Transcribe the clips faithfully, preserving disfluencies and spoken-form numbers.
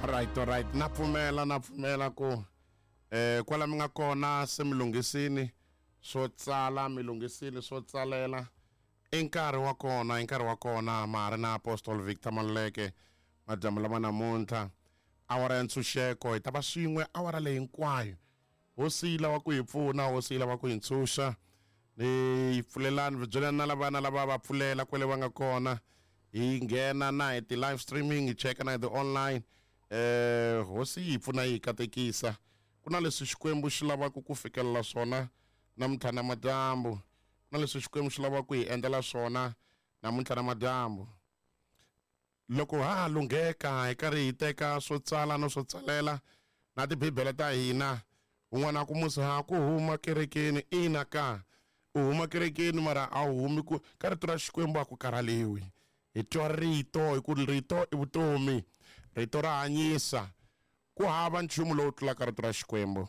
Alright, alright. Na pfumela, na pfumela ku eh kwala mi nga kona se mi lunghisini swo tsala, mi lunghisini swo tsalela. I nkarhi wa kona, i nkarhi wa kona ma ha ri na Apostle Victor Maluleke madyambu lama namuntlha. Awara ya ntshunxeko hi ta va swin'we awara leyi hinkwayo. Hosi yi lava ku hi pfuna, hosi yi lava ku hi ntshunxa. Ni pfulelani, byelani na lava na lava va pfulela kwale va nga kona. Hi nghena na hi ti-live streaming, hi cheka na hi ti-online. Eh hosi yi pfuna yi katekisa. Ku na leswi Xikwembu xi lavaka ku fikelela swona namuntlha na madyambu. Ku na leswi Xikwembu xi lavaka ku hi endlela swona namuntlha na madyambu. Loko ha ha lungheka hi karhi hi teka swo tsala no swo tsalela na tibibele ta hina, un'wana a ku musi ha ku huma kerekeni, ina ka u huma kerekeni mara a wu humi ku ka rito ra Xikwembu a ku karhaliwi. Hi twa rito hi ku rito i vutomi, rito ra hanyisa. Ku hava nchumu lowu tlulaka rito ra Xikwembu.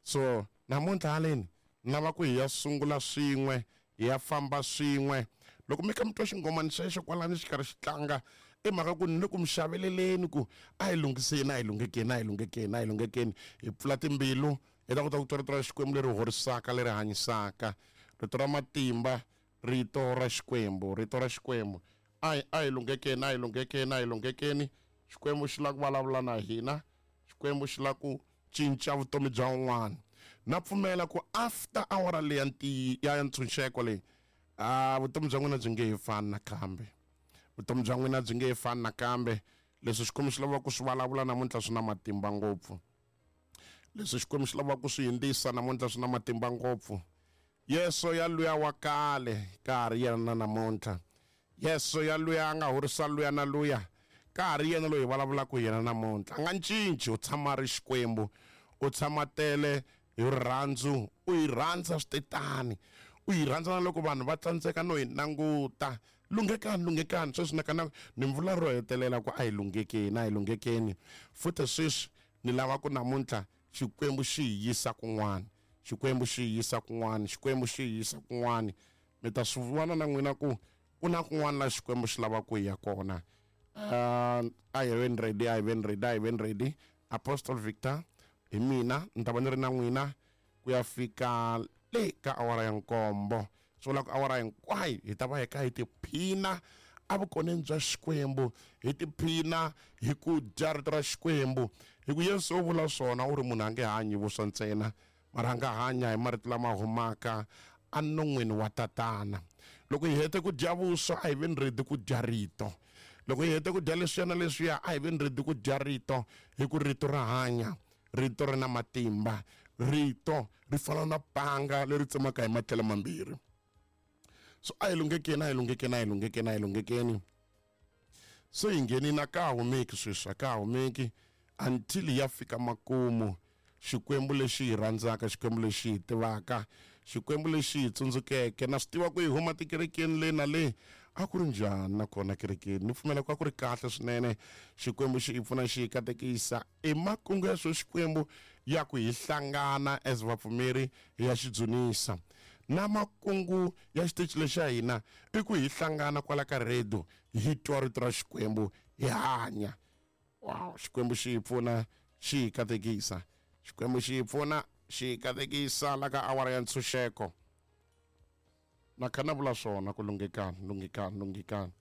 So namuntlha haleni ni lava ku hi ya sungula swin'we, hi ya famba swin'we. Loko mi kha mi twa xinghomani xexo kwalani xi karhi xi tlanga, i mhaka ku ni le ku mi xaveleleni ku a hi lunghiseni, a hi lunghekeni, a hi lunghekeni, a hi lunghekeni. Hi pfula timbilu hi ta kota ku twa rito ra Xikwembu leri horisaka, leri hanyisaka, rito ra matimba, rito ra Xikwembu, rito ra Xikwembu. A hi, a hi lunghekeni, a hi lunghekeni, a hi lunghekeni. Xikwembu xi lava ku vulavula na hina. Xikwembu xi lava ku cinca vutomi bya un'wana. Na pfumela ku after awara leyi ya ntiyi, ya ntshunxeko leyi, ah, vutomi bya n'wina byi nge he fani nakambe. Vutomi bya n'wina byi nge he fani nakambe. Leswi Xikwembu xi lavaka ku swi vulavula namuntlha swi na matimba ngopfu. Leswi Xikwembu xi lavaka ku swi hindzisa namuntlha swi na matimba ngopfu. Yesu ya luya wa kale ka ha ri yena na namuntlha. Yesu ya luya a nga horisa luya na luya ka ha ri yena loyi hi vulavulaka hi yena namuntlha. A nga cinci, u tshama a ri Xikwembu, u tshama tele hi rirhandzu, u hi rhandza switetani, u hi rhandza na loko vanhu va tsandzeka no hi languta. Lunghekani, lunghekani sweswi na kana ni vula ro hetelela ku a hi lunghekeni, a hi lunghekeni. Futhi sweswi ni lava ku namuntlha Xikwembu xi hi yisa kun'wana, Xikwembu xi hi yisa kun'wana, Xikwembu xi hi yisa kun'wana. Mi ta swi vona na n'wina ku ku na kun'wana la Xikwembu xi lavaka ku hi ya kona. Uh, a hi veni ready, a hi veni ready, a hi veni ready. Apostle Victor hi mina ni ta va ni ri na n'wina ku ya fika le ka awara ya nkombo. Swi vula ku awara hinkwayo hi ta va hi kha hi tiphina evukoneni bya Xikwembu, hi tiphina hi ku dya rito ra Xikwembu. Hi ku Yesu u vula swona, u ri munhu a nge hanyi vuswa ntsena, mara a nga hanya hi marito lama humaka enon'wini wa Tatana. Loko hi hete ku dya vuswa, a hi veni ready ku dya rito. Loko hi hete ku dya leswiya na leswiya, a hi veni ready ku dya rito, hi ku rito ra hanya, rito ri na matimba, rito ri fana na panga leri tsemaka hi matlhelo mambirhi. So a hi lunghekeni, a hi lunghekeni, a hi lunghekeni, a hi lunghekeni. So hi nghenini a ka ha humeki sweswi, a ka ha humeki until ya fika makumu. Xikwembu lexi hi rhandzaka, Xikwembu lexi hi tivaka, Xikwembu lexi hi tsundzukeke. Na swi tiva ku hi huma tikerekeni le na le, a ku ri njhani nakona kerekeni? Ni pfumela ku a ku ri kahle swinene. Xikwembu xi hi pfuna, xi hi katekisa. I makungu ya swo Xikwembu ya ku hi hlangana as vapfumeri hi ya xi dzunisa. Na makungu ya xitichi lexi xa hina i ku hi hlangana kwala ka radio, hi twa rito ra Xikwembu, hi hanya. Wow, Xikwembu xi hi pfuna, xi hi katekisa. Xikwembu xi hi pfuna, xi hi katekisa la ka awara ya ntshunxeko. Na kha na vula swona ku lunghekani, lunghekani, lunghekani,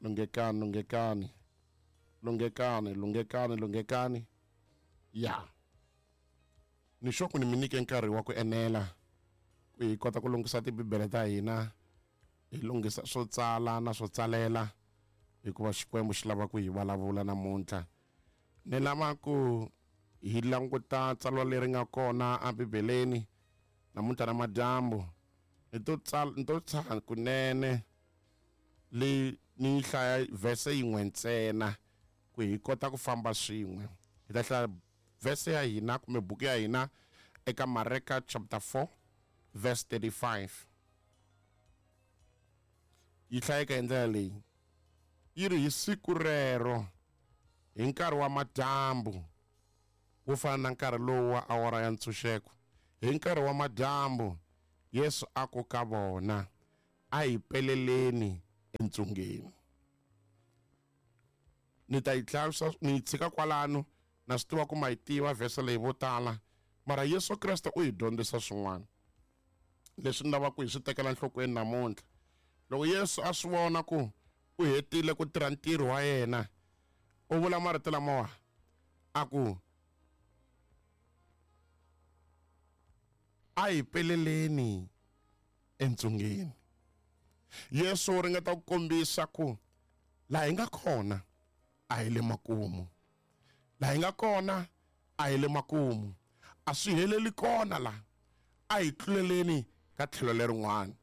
lunghekani, lunghekani, lunghekani, lunghekani, lunghekani. Ya. Ni sure ku ni mi nyike nkarhi wa ku enela ku hi kota ku lunghisa tibibele ta hina, hi lunghisa swo tsala na swo tsalela, hikuva Xikwembu xi lava ku hi vulavula namuntlha. Ni lava ku hi languta tsalwa leri nga kona ebibeleni namuntlha na madyambu. Ni to tsala, ni to tshaha kunene le ni hlaya verse yin'we ntsena ku hi kota ku famba swin'we. Hi ta hlaya verse ya hina kumbe buku ya hina eka Mareka chapter four verse thirty-five. Yi hlayeka hi ndlela leyi. Yi ri hi siku rero hi nkarhi wa madyambu, wo fana na nkarhi lowu wa awara ya ntshunxeko, hi nkarhi wa madyambu Yesu a ku ka vona, a hi peleleni entsungeni. Ni ta yi hlaya ni yi tshika kwalano, Na swi tiva ku ma yi tiva vhese leyi vo tala, mara Yesu Kreste u hi dyondzisa swin'wana leswi ni lavaka ku hi swi tekela nhlokweni namuntlha. Loko Yesu a swi vona ku u hetile ku tirha ntirho wa yena, u vula marito lamawa a ku a hi peleleni entsungeni. Yesu u ringeta ku kombisa ku laha hi nga kona a hi le makumu, laha hi nga kona a hi le makumu, a swi heleli kona la, a hi tluleleni ka tlhelo lerin'wana,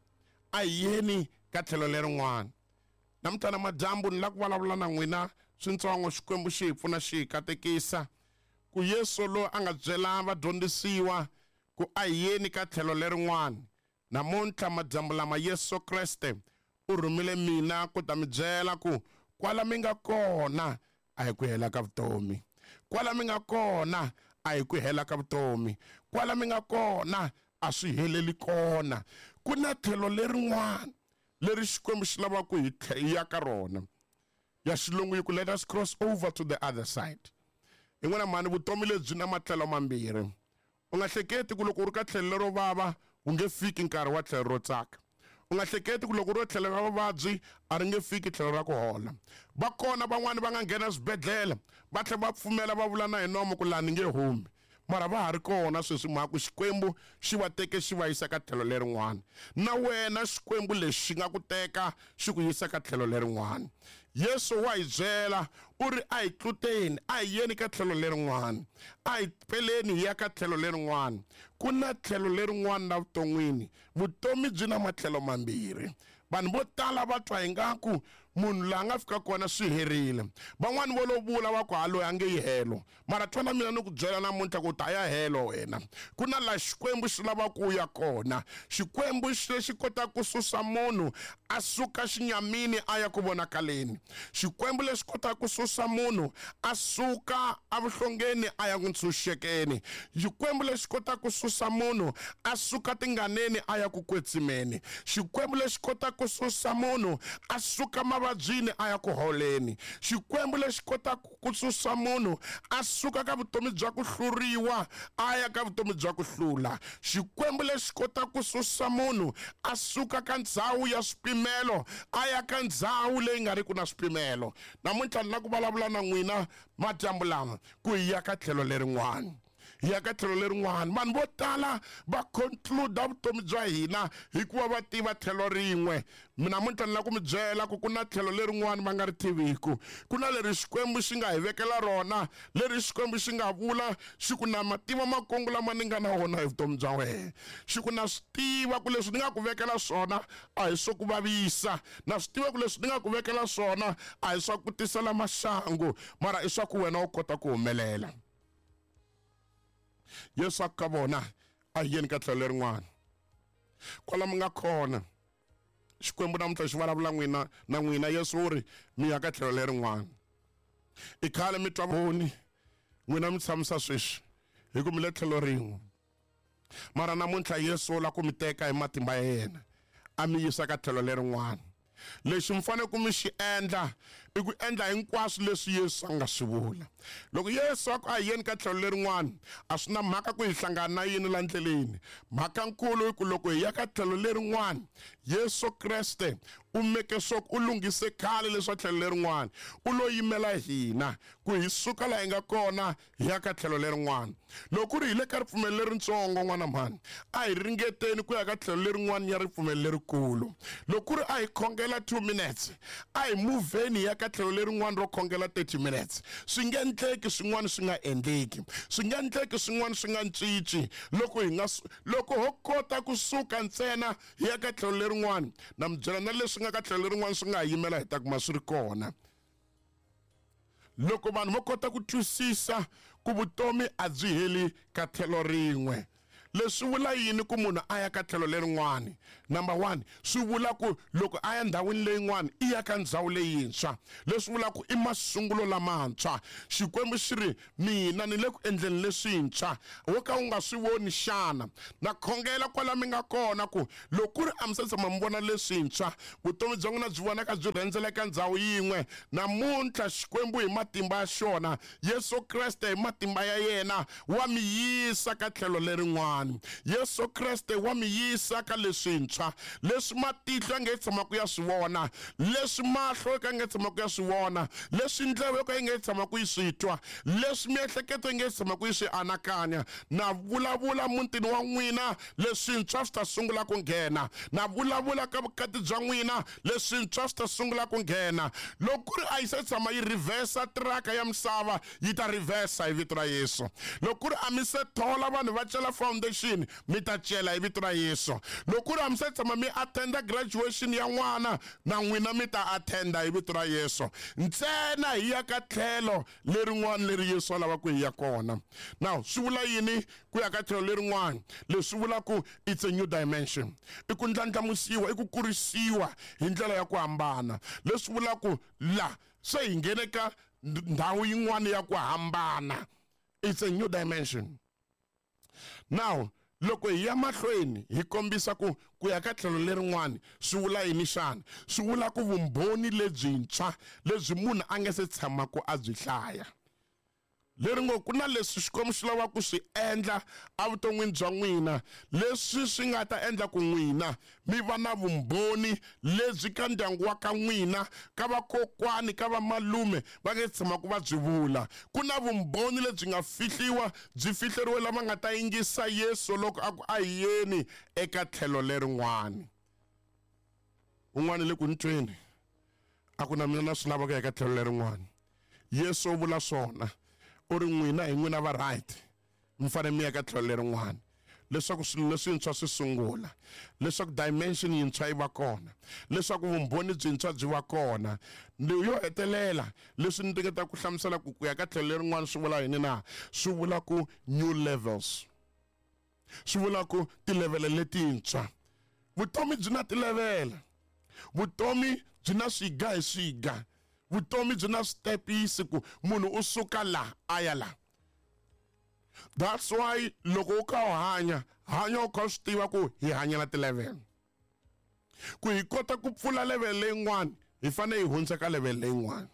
a hi yeni ka tlhelo lerin'wana. Namuntlha madyambu ni la ku vulavula na n'wina swintsongo, Xikwembu xi hi pfuna xi hi katekisa ku Yesu loyi a nga byela vadyondzisiwa ku a hi yeni ka tlhelo lerin'wana, namuntlha madyambu lama Yesu Kreste u rhumile mina ku ta mi byela ku kwala mi nga kona a hi ku hela ka vutomi, kwala mi nga kona a hi ku hela ka vutomi, kwala mi nga kona a swi heleli kona. Ku na tlhelo lerin'wana leri Xikwembu xi lavaka ku hi ya ka rona. Ya xilungu yi ku let us cross over to the other side. Hi n'wina mhani, vutomi lebyi na matlhelo mambirhi. U nga hleketi ku loko u ri ka tlhelo lero vava wu nge fiki nkarhi wa tlhelo ro tsaka. U nga hleketi ku loko u ri tlhelo ra vuvabyi a ri nge fiki tlhelo ra ku hola. Va kona van'wani va nga nghena swibedhlele va tlhela va pfumela va vula na hi nomo ku laha ni nge humi, mara va ha ri kona sweswi mhaka ku Xikwembu xi va teke xi va yisa ka tlhelo lerin'wana. Na wena Xikwembu lexi xi nga ku teka xi ku yisa ka tlhelo lerin'wana. Yesu wa hi byela u ri a hi tluteni, a hi yeni ka tlhelo lerin'wana, a hi peleni hi ya ka tlhelo lerin'wana. Ku na tlhelo lerin'wana la vuton'wini. Vutomi byi na matlhelo mambirhi. Vanhu vo tala va twa ingaku munhu laha nga fika kona swi herile. Van'wani vo lo vula va ku ha loyi a nge yi helo, mara twana mina ni ku byela namuntlha ku ta ya helo wena. Ku na laha Xikwembu xi lavaka ku ya kona. Xikwembu lexi kotaka ku susa munhu a suka xinyamini a ya ku vonakaleni. Xikwembu lexi kotaka ku susa munhu a suka evuhlongeni a ya ku ntshunxekeni. Xikwembu lexi kotaka ku susa munhu a suka tinganeni a ya ku kwetsimeni. Xikwembu lexi kotaka ku susa munhu a suka mavabyini a ya ku holeni. Xikwembu lexi kotaka ku susa munhu a suka ka vutomi bya ku hluriwa a ya ka vutomi bya ku hlula. Xikwembu lexi kotaka ku susa munhu a suka ka ndzhawu ya swipimelo a ya ka ndzhawu leyi nga riki na swipimelo. Namuntlha ni la ku vulavula na n'wina madyambu lama ku hi ya ka tlhelo lerin'wana, hi ya ka tlhelo lerin'wana. Vanhu vo tala va conclude vutomi bya hina hikuva va tiva tlhelo rin'we. Namuntlha ni la ku mi byela ku ku na tlhelo lerin'wana va nga ri tiviku. Ku na leri Xikwembu xi nga hi vekela rona, leri Xikwembu xi nga vula xi ku na mativa makungu lama ni nga na wona hi vutomi bya wena. Xi ku na swi tiva ku leswi ni nga ku vekela swona a hi swo ku vavisa, na swi tiva ku leswi ni nga ku vekela swona a hi swa ku tisela maxangu, mara i swa ku wena u kota ku humelela. Yesu a ku ka vona a hi yeni ka tlhelo lerin'wana. Kwala mi nga kona Xikwembu namuntlha xi vulavula n'wina na n'wina. Yesu u ri mi ya ka tlhelo lerin'wana. I khale mi twa voni n'wina mi tshamisa sweswi hi ku mi le tlhelo rin'we, mara namuntlha Yesu u lava ku mi teka hi matimba ya yena a mi yisa ka tlhelo lerin'wana. Lexi mi fanele ku mi xi endla i ku endla hinkwaswo leswi Yesu a nga swi vula. Loko Yesu a ku a hi yeni ka tlhelo lerin'wana, a swi na mhaka ku hi hlangana na yini la ndleleni. Mhaka nkulu i ku loko hi ya ka tlhelo lerin'wana, Yesu Kreste u meke sure u lunghise khale leswa tlhelo lerin'wana, u lo yimela hina ku hi suka laha hi nga kona hi ya ka tlhelo lerin'wana. Loko ku ri hi le ka ripfumelo leritsongo n'wana mhani, a hi ringeteni ku ya ka tlhelo lerin'wana ya ripfumelo lerikulu. Loko ku ri a hi khongela two minutes, a hi muvheni hi ya ka tlhelo lerin'wana ro khongela thirty minutes. Swi nge endleki swin'wana swi nga endleki, swi nge endleki swin'wana swi nga cinci. Loko hi nga loko ho kota kusuka ntsena hi ya ka tlhelo lerin'wana, na mi byela na leswi nga ka tlhelo lerin'wana swi nga ha yimela hi ta kuma swi ri kona. Loko vanhu va kota ku twisisa ku vutomi a byi heli ka tlhelo rin'we, Leswi vula yini ku munhu a ya ka tlhelo lerin'wani? Number one, swi vula ku loko a ya ndhawini leyin'wani i ya ka ndhawu leyintshwa. Leswi vula ku i masungulo lamantshwa. Xikwembu xi ri mina ni le ku endleni leswintshwa, wo ka u nga swi voni xana? Na khongela kwala mi nga kona ku loko ku ri a mi se tshama mi vona leswintshwa, vutomi bya n'wina byi vonaka byi rhendzela eka ndhawu yin'we. Namuntlha Xikwembu hi matimba ya xona, Yesu Kreste hi matimba ya yena wa mi yisa ka tlhelo lerin'wana. Yesu Kreste wa mi yisa ka leswintshwa, leswi matihlo ya nge tshamaka ya swi vona, leswi mahlo ka nge tshamaka ya swi vona, leswi ndleve yo ka yi nge tshamaka yi swi twa, leswi miehleketo yi nge tshamaka yi swi anakanya. Na vulavula mutini wa n'wina, leswintshwa swi ta sungula ku nghena. Na vulavula ka vukati bya n'wina, leswintshwa swi ta sungula ku nghena. Loko ku ri a yi se tshama yi reversa tiraka ya misava, yi ta reversa hi vito ra Yesu. Loko ku ri a mi se thola vanhu va cela foundation, mi ta cela hi vito ra Yesu. Loko ku ri a mi se tshama mi attenda graduation ya n'wana, na n'wina mi ta attenda hi vito ra Yesu. Ntsena hi ya ka tlhelo lerin'wana leri Yesu a lavaka hi ya kona. Now swi vula yini ku ya ka tlhelo lerin'wana? Leswi vula ku it's a new dimension. I ku ndlandlamusiwa, i ku kurisiwa hi ndlela ya ku hambana. Leswi vula ku la se hi nghene ka ndhawu yin'wana ya ku hambana. It's a new dimension. Now loko hi ya mahlweni hi kombisa ku ku ya ka tlhelo lerin'wana swi vula yini xana? Swi vula ku vumbhoni lebyintshwa lebyi munhu a nga se tshamaka a byi hlaya. Leri ngo ku na leswi Xikwembu xi lavaka ku swi endla evuton'wini bya n'wina, leswi swi nga ta endla ku n'wina mi va na vumbhoni lebyi ka ndyangu wa ka n'wina, ka vakokwani, ka vamalume va nge tshamaka va byi vula. Ku na vumbhoni lebyi nga fihliwa, byi fihleriwe lava nga ta yingisa Yesu loko a ku a hi yeni eka tlhelo lerin'wani. Un'wana le ku ni tweni a ku na mina na swi lava ku ya eka tlhelo lerin'wani. Yesu u vula swona, u ri n'wina hi n'wina va right, mi fanele mi ya ka tlhelo lerin'wana leswaku swilo leswintshwa swi sungula, leswaku dimension yintshwa yi va kona, leswaku vumbhoni byintshwa byi va kona. Yo hetelela leswi ni ringetaka ku hlamusela ku ku ya ka tlhelo lerin'wana swi vula yini na? Swi vula ku new levels, swi vula ku tilevhele letintshwa. Vutomi byi na tilevhele, vutomi byi na swiga hi swiga, vutomi byi na switepisi ku munhu u suka la a ya la. That's why loko u kha u hanya, hanya u kha u swi tiva ku hi hanyela ti-level. Ku hi kota ku pfula level leyin'wana, hi fanele hi hundza ka level leyin'wana.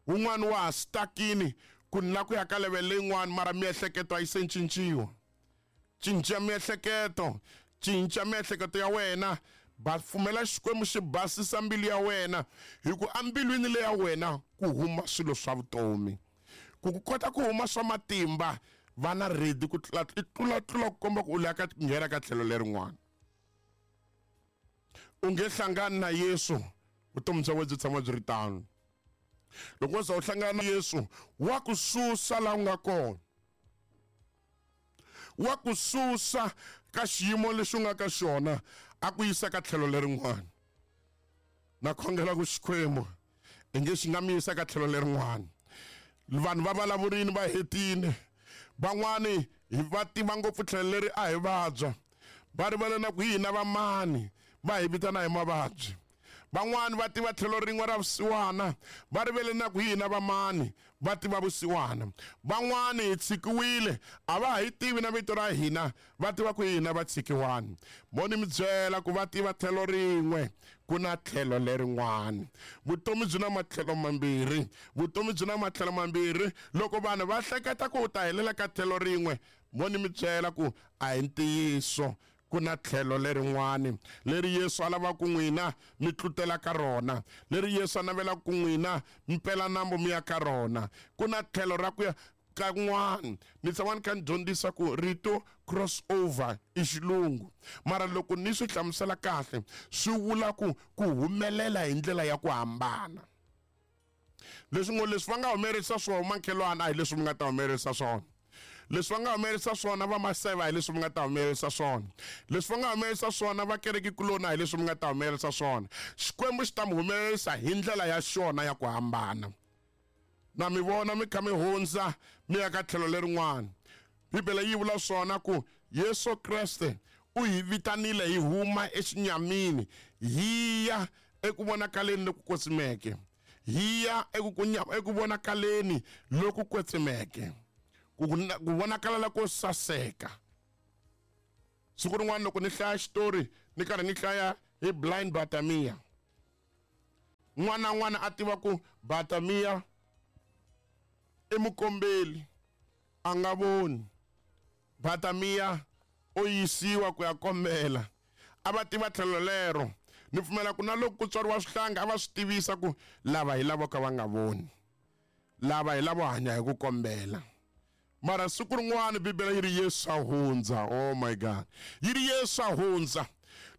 Wun'wana wa ha stuck-ini ku ni la ku ya ka level leyin'wana, mara miehleketo a yi se cinciwa. Cinca miehleketo, cinca miehleketo ya wena. Ba pfumela Xikwembu xi basisa mbilu ya wena, hi ku embilwini leya wena ku huma swilo swa vutomi. Ku ku kota ku huma swa matimba, va na ready ku tlula tlula tlula ku komba ku u lava ku nghena ka tlhelo lerin'wana. U nge hlangani na Yesu, vutomi bya wena byi tshama byi ri tano. Loko wo za u hlangana na Yesu, wa ku susa laha u nga kona, wa ku susa ka xiyimo lexi u nga ka xona, a ku yisa ka tlhelo lerin'wana. Na khongela ku Xikwembu i nge xi nga mi yisa ka tlhelo lerin'wana. Vanhu va vulavurini va hetile, van'wani hi va tiva ngopfu tlhelo leri a hi vabya, va rivala na ku hina vamani va hi vitana hi mavabyi. Van'wani va tiva tlhelo rin'we ra vusiwana, va rivele na ku hina vamani va tiva vusiwana. Van'wani hi tshikiwile, a va ha yi tivi na vito ra hina, va tiva ku hina va tshikiwani. Mo ni mi byela ku va tiva tlhelo rin'we, ku na tlhelo lerin'wana. Vutomi byi na matlhelo mambirhi, vutomi byi na matlhelo mambirhi. Loko vanhu va hleketa ku u ta helela ka tlhelo rin'we, mo ni mi byela ku a hi ntiyiso. Ku na tlhelo lerin'wani leri Yesu a lavaka ku n'wina mi tlutela ka rona, leri Yesu a navelaka ku n'wina mi pela nambu mi ya ka rona. Ku na tlhelo ra ku ya ka n'wana. Ni tshama ni kha ni dyondzisa ku rito crossover i xilungu, mara loko ni swi hlamusela kahle swi vula ku ku humelela hi ndlela ya ku hambana. Leswi ngo leswi va nga humelerisa swona makhelwana a hi leswi mi nga ta humelerisa swona. Leswi va nga humelerisa swona va maseva hi leswi mi nga ta humelerisa swona. Leswi va nga humelerisa swona va kerekekuloni a hi leswi mi nga ta humelerisa swona. Xikwembu xi ta mi humelerisa hi ndlela ya xona ya ku hambana. Na mi vona mi kha mi hundza mi ya ka tlhelo lerin'wana. Bibele yi vula swona ku Yesu Kreste u hi vitanile hi huma exinyamini hi ya eku vonakaleni loku kwetsimeke, hi ya eku vonakaleni loku kwetsimeke, ku vonakala loko saseka. Siku rin'wana loko ni hlaya xitori ni karhi ni hlaya hi blind Bartimaeus, n'wana n'wana a tiva ku Bartimaeus i mukombeli, a nga voni. Bartimaeus o yisiwa ku ya kombela, a va tiva tlhelo lero. Ni pfumela ku na loko ku tswariwa swihlanga a va swi tivisa ku lava hi lavo ka va nga voni, lava hi lavo hanya hi ku kombela. Mara siku rin'wana Bibele yi ri Yesu a hundza. Oh my God, yi ri Yesu a hundza.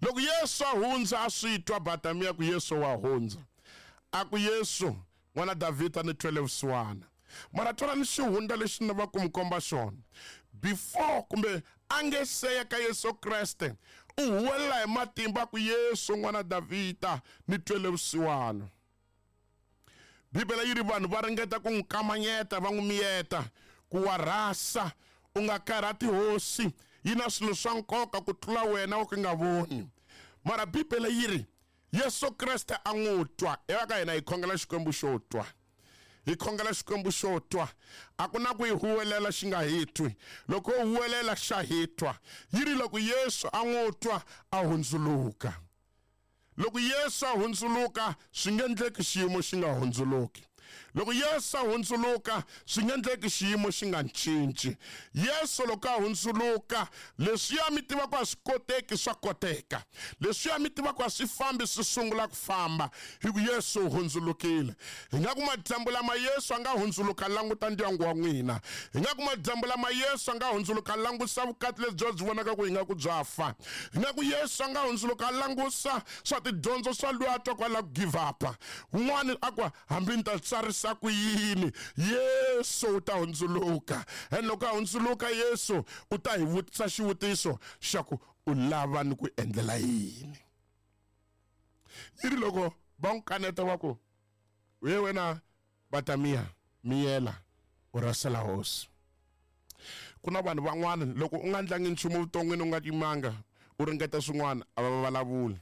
Loko Yesu a hundza a swi twa Bartimaeus ku Yesu wa hundza, a ku Yesu n'wana Davhida ni twele vusiwana. Mara twala ni xihundla lexi ni va ku mi komba xona before kumbe a nge seya ka Yesu Kreste, u huwelela hi matimba ku Yesu n'wana Davhida ni twele vusiwana. Bibele yi ri vanhu va ringeta ku n'wi kamanyeta, va n'wi miyeta ku wa rhasa, u nga karhati hosi, yi na swilo swa nkoka ku tlula wena wo ka nga voni. Mara Bibele yi ri Yesu Kreste a n'wi twa. Eka ka hina hi khongela Xikwembu xo twa, hi khongela Xikwembu xo twa. A ku na ku hi huwelela xi nga hi twi, loko u huwelela xa hi twa. Yi ri loko Yesu a n'wi twa a hundzuluka. Loko Yesu a hundzuluka swi nge endleki xiyimo xi nga hundzuluki. Loko Yesu a hundzuluka swi nge endleki xiyimo xi nga cinci. Yesu loko a hundzuluka, leswiya mi tiva ku a swi koteki swa koteka, leswiya mi tiva ku a swi fambi swi sungula ku famba, hi ku Yesu u hundzulukile. Hi nga ku madyambu lama Yesu a nga hundzuluka languta ndyangu wa n'wina. Hi nga ku madyambu lama Yesu a nga hundzuluka langusa vukati lebyi byi vonaka ku hi nga ku bya fa. Hi nga ku Yesu a nga hundzuluka langusa swa tidyondzo swa loyi a twa ku a lava ku give up. Un'wana a ku hambi ni ta tsarisa ku yini, Yesu u ta hundzuluka. And loko a hundzuluka Yesu u ta hi vutisa xivutiso xa ku u lava ni ku endlela yini. Yi ri loko va n'wi kaneta va ku we wena Bartimaeus miyela u rasela hosi. Ku na vanhu van'wana loko u nga ndlangi nchumu vuton'wini u nga yimanga u ringeta swin'wana a va vulavuli.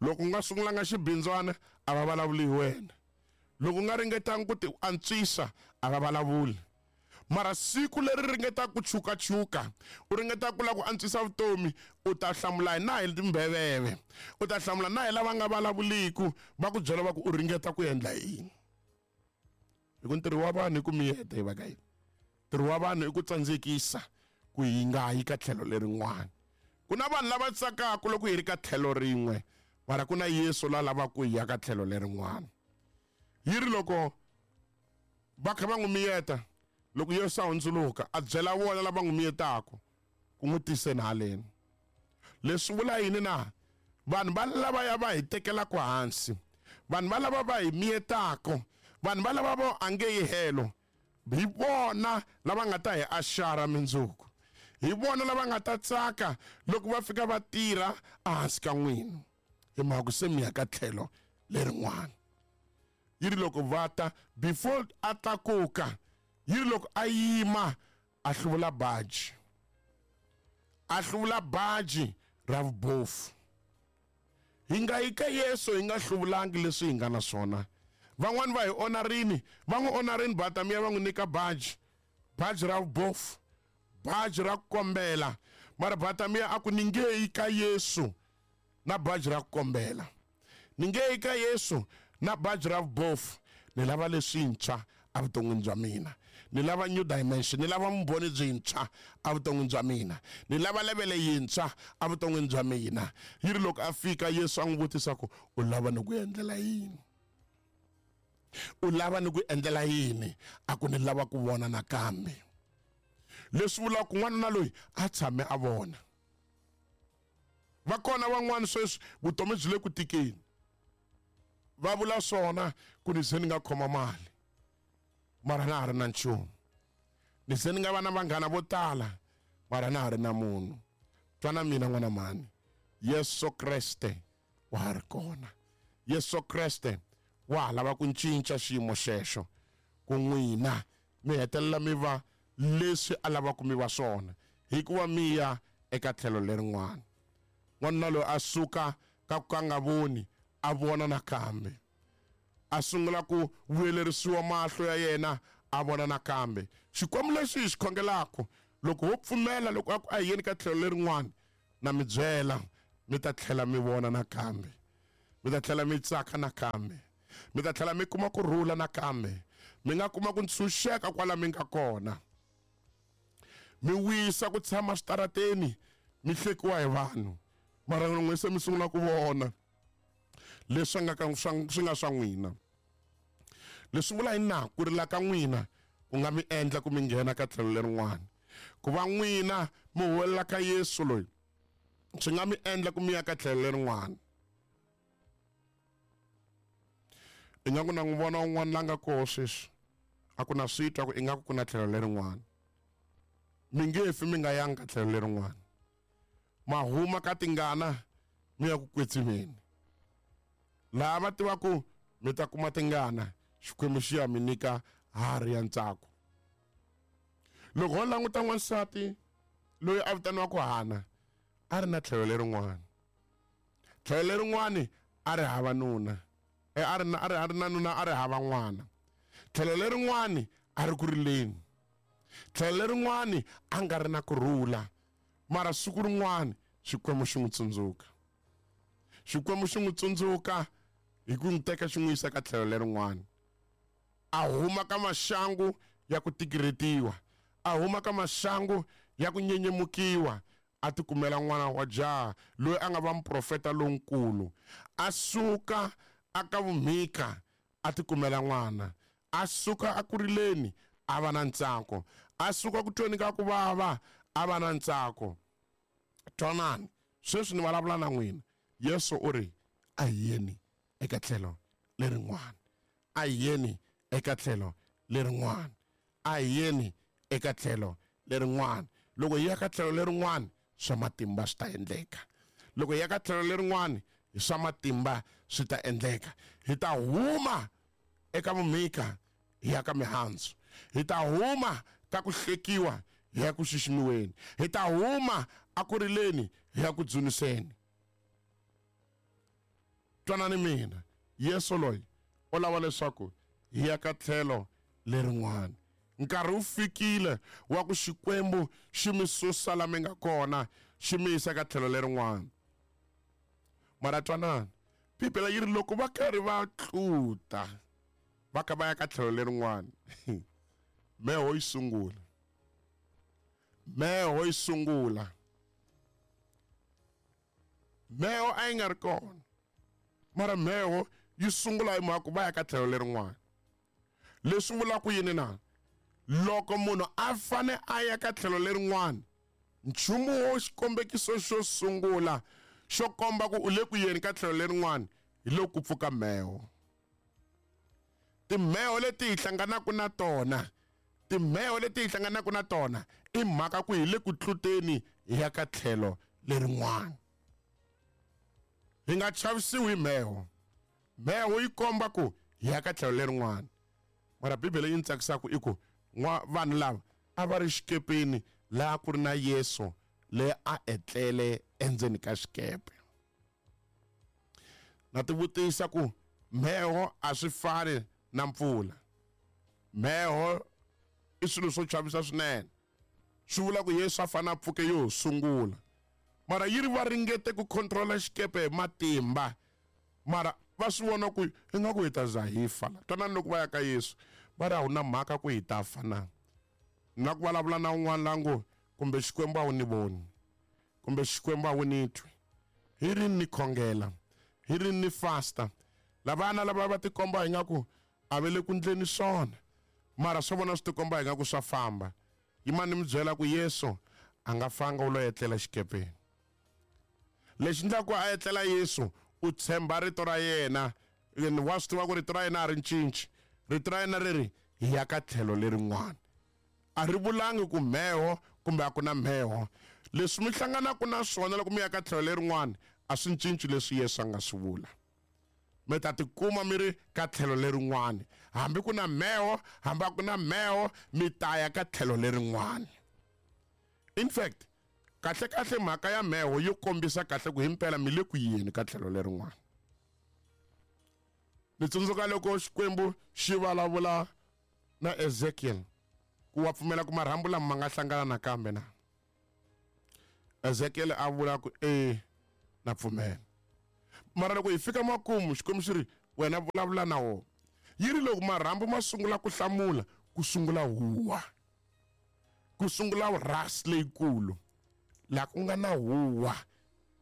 Loko u nga sungulanga xibindzwana a va vulavuli hi wena. Loko u nga ringetanga ku ti antswisa a va vulavuli. Mara siku leri ringetaka ku chukachuka, u ringetaka ku lava ku antswisa vutomi, u ta hlamula hi na hi timbheveve, u ta hlamula na hi lava nga vulavuliku, va ku byela va ku u ringeta ku endla yini. Hi ku ntirho wa vanhu i ku miyeta hi va ka yini, ntirho wa vanhu i ku tsandzekisa ku hi nga yi ka tlhelo lerin'wana. Ku na vanhu lava tsakaka loko hi ri ka tlhelo rin'we, mara ku na Yesu la lavaka ku hi ya ka tlhelo lerin'wana. Yi ri loko va kha va n'wi miyeta, loko Yesu a hundzuluka a byela vona lava n'wi miyetaka ku n'wi tiseni haleni. Leswi vula yini na? Vanhu va lavaya va hi tekelaka hansi, vanhu va lava va hi miyetaka, vanhu va lava vo a nge yi helo, hi vona lava nga ta hi axara mindzuku, hi vona lava nga ta tsaka loko va fika va tirha ehansi ka n'wina, hi mhaka ku se mi ya ka tlhelo lerin'wana. Yi ri loko va ta before a tlakuka, yi ri loko a yima a hluvula baji, a hluvula baji ra vubofu. Hi nga yi ka Yesu hi nga hluvulangi leswi hi nga na swona. Van'wani va hi onarini, va n'wi onarini Bartimaeus va n'wi nyika baji, baji ra vubofu, baji ra ku kombela. Mara Bartimaeus a ku ni nge yi ka Yesu na baji ra ku kombela, ni nge yi ka Yesu na baji ra vubofu. Ni lava leswintshwa evuton'wini bya mina, ni lava new dimension, ni lava vumbhoni byintshwa evuton'wini bya mina, ni lava levele yintshwa evuton'wini bya mina. Yi ri loko a fika Yesu a n'wi vutisa ku u lava ni ku endlela yini, u lava ni ku endlela yini? A ku ni lava ku vona nakambe. Leswi vulaka ku n'wanuna loyi a tshame a vona. Va kona van'wana sweswi vutomi byi le ku tikeni, va vula swona ku ni se ni nga khoma mali mara na ha ri na nchumu, ni se ni nga va na vanghana vo tala mara na ha ri na munhu. Twana mina n'wana mhani, Yesu Kreste wa ha ri kona. Yesu Kreste wa ha lava ku cinca xiyimo xexo ku n'wina mi hetelela mi va leswi a lavaka mi va swona. Hikuva mi ya eka tlhelo lerin'wana. N'wanuna loyi a suka ka ku ka nga voni a vona nakambe. A sungula ku vuyelerisiwa mahlo ya yena a vona nakambe. Xikwembu lexi hi xi khongelaka loko ho pfumela loko a ku a hi yeni ka tlhelo lerin'wana na mi byela mi ta tlhela mi vona nakambe. Mi ta tlhela mi tsaka nakambe. Mi ta tlhela mi kuma ku rhula nakambe. Mi nga kuma ku ntshunxeka kwala mi nga kona. Mi wisa ku tshama switarateni mi hlekiwa hi vanhu. Mara n'we se mi sungula ku vona leswi nga ka swi nga swa n'wina. Leswi vula hi na ku rila ka n'wina ku nga mi endla ku mi nghena ka tlhelo lerin'wana. Ku va n'wina mi huwelela ka Yesu loyi swi nga mi endla ku mi ya ka tlhelo lerin'wana. Ingaku na n'wi vona un'wana la nga koho sweswi a ku na swi twa ku ingaku ku na tlhelo lerin'wana. Mi nge fi mi nga yangi ka tlhelo lerin'wana. Ma huma ka tingana mi ya ku kwetsimeni. Laha va tivaka mi ta kuma tingana Xikwembu xi ya mi nyika harhi ya ntsako. Loko ho languta n'wansati loyi a vitaniwaka Hana a ri na tlhelo lerin'wana. Tlhelo lerin'wana a ri hava nuna. E a ri na a ri a ri na nuna a ri hava n'wana. Tlhelo lerin'wana a ri ku rileni. Tlhelo lerin'wana a nga ri na ku rhula. Mara siku rin'wana Xikwembu xi n'wi tsundzuka. Xikwembu xi n'wi tsundzuka hi ku n'wi teka xi n'wi yisa ka tlhelo lerin'wana. A huma ka maxangu ya ku tikiretiwa. A huma ka maxangu ya ku nyenyemukiwa. A tikumela n'wana wa jaha loyi a nga va muprofeta lonkulu. A suka aka vumhika a tikumela n'wana. A suka a kurileni a va na ntsako. A suka ku tweni ka ku vava a va na ntsako. Twanani sweswi ni vulavula na n'wina. Yesu u ri a hi yeni eka tlhelo lerin'wana. A hi yeni eka tlhelo lerin'wana. A hi yeni eka tlhelo lerin'wana. Loko hi ya ka tlhelo lerin'wana swa matimba swi ta endleka. Loko hi ya ka tlhelo lerin'wana hi swa matimba swi ta endleka. Hi ta huma eka vumhika hi ya ka mihandzu. Hi ta huma ka ku hlekiwa hi ya ku xiximiweni. Hi ta huma akurileni hi ya ku dzuniseni. Twanani mina Yesu loyi u lava leswaku hi ya ka tlhelo lerin'wana. Nkarhi wu fikile wa ku Xikwembu xi mi susa la mi nga kona xi mi yisa ka tlhelo lerin'wana. Mara twanani Bibele yi ri loko va karhi va tluta va kha va ya ka tlhelo lerin'wana mheho yi sungula. Mheho yi sungula. Mheho a yi nga ri kona. Mara mheho yi sungula hi mhaka ku va ya ka tlhelo lerin'wana. Leswi vulaka yini na? Loko munhu a fane a ya ka tlhelo lerin'wana nchumu wo xikombekiso xo sungula xo komba ku u le ku yeni ka tlhelo lerin'wana hi loko ku pfuka mheho. Timheho leti hi hlanganaka na tona, timheho leti hi hlanganaka na tona i mhaka ku hi le ku tluteni hi ya ka tlhelo lerin'wana. Hi nga chavisiwi hi mheho. Mheho yi komba ku hi ya ka tlhelo lerin'wana. Mara Bibele yi ni tsakisaka i ku vanhu lava a va ri xikepeni laha ku ri na Yesu leyi a etlele endzeni ka xikepe. Na tivutisa ku mheho a swi fani na mpfula. Mheho i swilo swo chavisa swinene. Swi vula ku Yesu a fane a pfuke yo sungula. Mara yi ri va ringete ku controla xikepe hi matimba. Mara va swi vona ku ingaku hi ta za hi fa la. Twanani loko va ya ka Yesu va ri a wu na mhaka ku hi ta fa na. Na ku vulavula na un'wana la ngo kumbe Xikwembu a wu ni voni. Kumbe Xikwembu a wu ni twi. Hi rini ni khongela. Hi rini ni fasta. Lavana lava va tikomba ingaku a va le ku ndleni swona. Mara swa vona swi tikomba ingaku swa famba. Yimani mi byela ku Yesu a nga fanga u lo etlela xikepeni. Lexi endlaka a etlela Yesu u tshemba rito ra yena. Wa swi tiva ku rito ra yena a ri cinci. Rito ra yena ri ri hi ya ka tlhelo lerin'wana. A ri vulangi ku mheho kumbe a ku na mheho. Leswi mi hlanganaka na swona loko mi ya ka tlhelo lerin'wana a swi cinci leswi Yesu a nga swi vula. Mi ta tikuma mi ri ka tlhelo lerin'wana. Hambi ku na mheho, hambi a ku na mheho, mi ta ya ka tlhelo lerin'wana. In fact, kahle kahle mhaka ya mheho yo kombisa kahle ku himpela mi le ku yini ka tlhelo lerin'wana. Ni tsundzuka loko Xikwembu xi vulavula na Ezekiel ku wa pfumela ku marhambu lama ma nga hlangana nakambe na. Ezekiel a vula ku e na pfumela. Mara loko hi fika makumu Xikwembu xi ri wena vulavula na wona. Yi ri loko marhambu ma sungula ku hlamula ku sungula huwa. Ku sungula ras leyikulu. La ku nga na huwa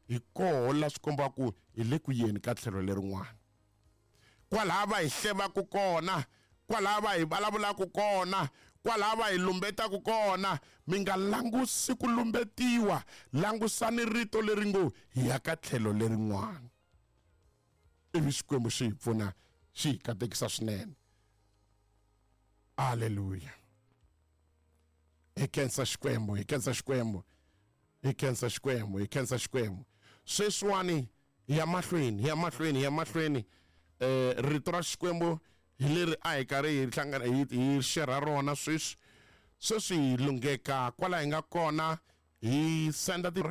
hi koho la swi komba ku hi le ku yeni ka tlhelo lerin'wana. Kwalaha va hi hlevaka kona, kwalaha va hi vulavulaka kona, kwalaha va hi lumbetaka kona, mi nga langusi ku lumbetiwa, langusani rito leri ngo hi ya ka tlhelo lerin'wana. Ivi Xikwembu xi hi pfuna, xi hi katekisa swinene. Hallelujah. Hi khensa Xikwembu, hi khensa Xikwembu. Hi khensa Xikwembu, hi khensa Xikwembu. Sweswiwani hi ya mahlweni, hi ya mahlweni, hi ya mahlweni. Eh rito ra Xikwembu hi leri a hi karhi hi hlangana hi hi share rona sweswi. Sweswi hi lungheka kwala hi nga kona hi senda ti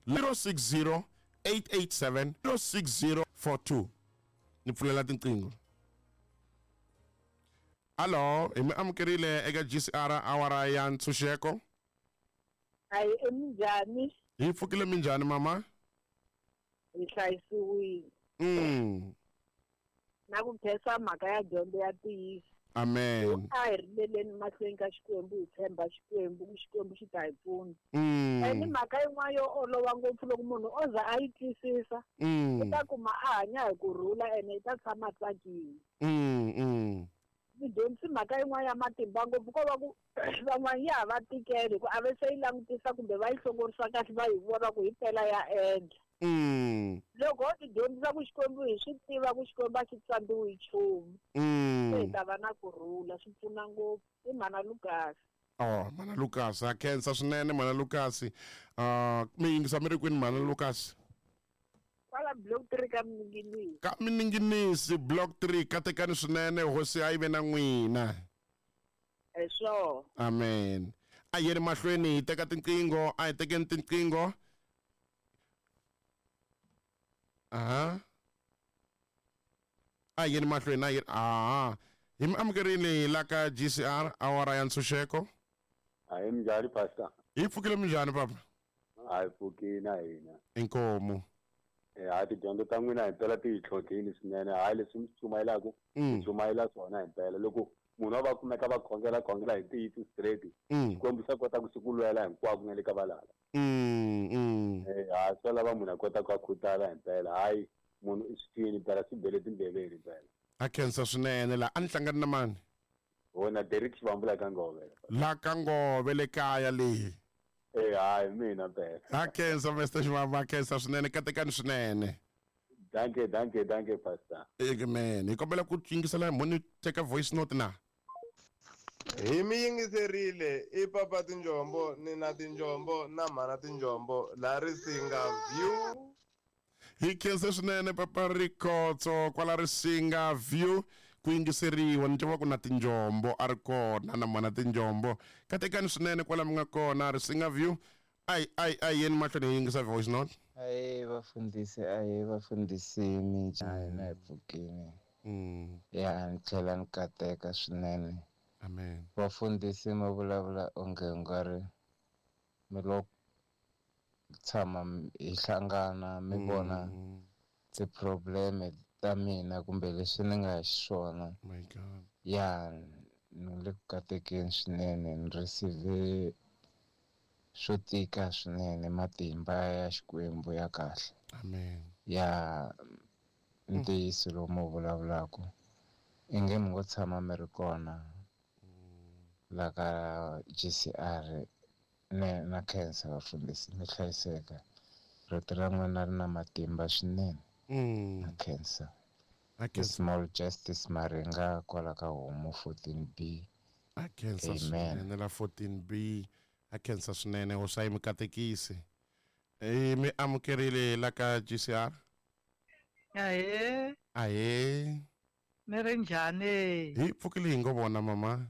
zero six zero eight eight seven zero six zero four two. Ni pfulela tinqingho. Hello, hi mi amukerile eka G C R awara ya ntshunxeko. Hayi, eminjhani? Hi pfukile minjhani mama? Hi hlayisiwile. Mm. Na ku khensa mhaka ya dyondzo ya ntiyiso. Amen. A hi rileleni mahlweni ka Xikwembu, hi tshemba Xikwembu, ku Xikwembu xi ta hi pfuna. Mm. Ene mhaka yin'wana yo olova ngopfu loko munhu o za a yi twisisa, Mm. u ta kuma a hanya hi kurhula ene i ta tshama a tsakile. Mm, mm. Ni dyondzisi mhaka yin'wana ya matimba ngopfu ko va ku van'wana ya ha va tikeli ku a va se yi langutisa kumbe va yi hlongorisa kahle va yi vona ku hi mpela ya endla. Mm. Loko ho ti dyondzisa ku Xikwembu hi swi tiva ku Xikwembu a xi tsandziwi hi nchumu, Mm. se hi ta va na kurhula, swi pfuna ngopfu. I Mhana Lucas. Oh, Mhana Lucas, a khensa swinene Mhana Lucas. Uh, mi yingisa mi ri kwini Mhana Lucas? Kwala block three ka Minginisi. Ka Minginisi block three, katekani swinene, hosi a yi ve na n'wina. Hi swona. Amen. A hi yeni mahlweni hi teka tinqingho, a hi tekeni tinqingho. Aha. A hi yeni mahlweni, a hi yeni, aha. Hi mi amukerile la ka G C R awara ya ntshunxeko. Hayi minjhani pastor? Hi pfukile minjhani papa? Hayi pfukile na hina. Inkomu. Eh, hayi tidyondzo ta n'wina hi mpela ti hi tlhontlhile swinene. Hayi leswi mi swi chumayelaka, Mm. chumayela swona hi mpela. Loko munhu a va kumeka va khongela khongela hi ntiyiso straight, Mm. Xikwembu xa kota ku xi ku lwela hinkwako na le ka valala. Mm, mm. Eh, hayi swi lava munhu a kota ku a khutala hi mpela. Hayi munhu i swi twini mpela, swi bele tindleveni mpela. A khensa swinene la. A ni hlangani na mani? Wona Derek Xivambu la ka Ngove. La ka Ngove le kaya leyi. Eh, hayi mina mpela. A khensa Mister Xivambu, a khensa swinene, katekani swinene. Danke, danke, danke pastor. Amen. Hi kombela ku yingisela mhoni teka voice note na. Hi mi yingiserile i papa tinjombo ni na tinjombo na mhana tinjombo la Risinga View. Hi khense swinene papa Rikhotso kwala Risinga View ku yingiseriwa ni tiva ku na tinjombo a ri kona na mhana tinjombo. Katekani swinene kwala mi nga kona Risinga View. Ai ai ai yeni mahlweni hi yingisa voice note. Ayi vafundhisi, ayi vafundhisi minjhani na hi pfukile. Mm. Ya ni tlhela ni kateka swinene. Amen. Vafundhisi ma vulavula onge u nga ri mi lo tshama hi hlangana mi vona Mm. ti-problem ta mina kumbe leswi ni nga xiswona. My God. Ya ni le ku katekeni swinene, ni receive swo tika swinene, matimba ya Xikwembu ya kahle. Amen. Ya ntiyiso lowu mi wu vulavulaka inge mi ngo tshama mi ri kona la ka G C R ne na khensa vafundhisi, mi hlayiseka. Rito ra n'wina ri na matimba swinene. Mm. Na khensa. A khensa. Small Justice Maringa kwala ka Homu fourteen B. A khensa Amen. swinene la fourteen B. A khensa swinene, hosi a yi mi katekisi. Eh, mi amukerile la ka G C R? Ahee. Ahee. Mi ri njhani? Hi pfukile hi ngo vona mama.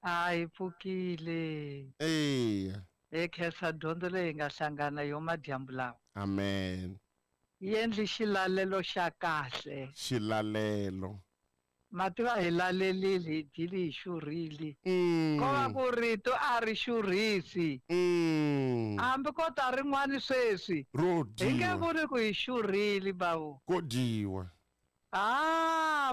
A hi pfukile. Eya. Hi khensa dyondzo leyi hi nga hlangana yo madyambu lawa. Amen. Yi endli xilalelo xa kahle. Xilalelo. Mativa hi lalelile hi dyile hi xurhile. Mm. Ko va ku rito a ri xurhisi. Mm. Hambi ko ta rin'wani sweswi. Ro Hi nge dyiwa. vuli ku hi xurhile bawo. Ko dyiwa. Ah,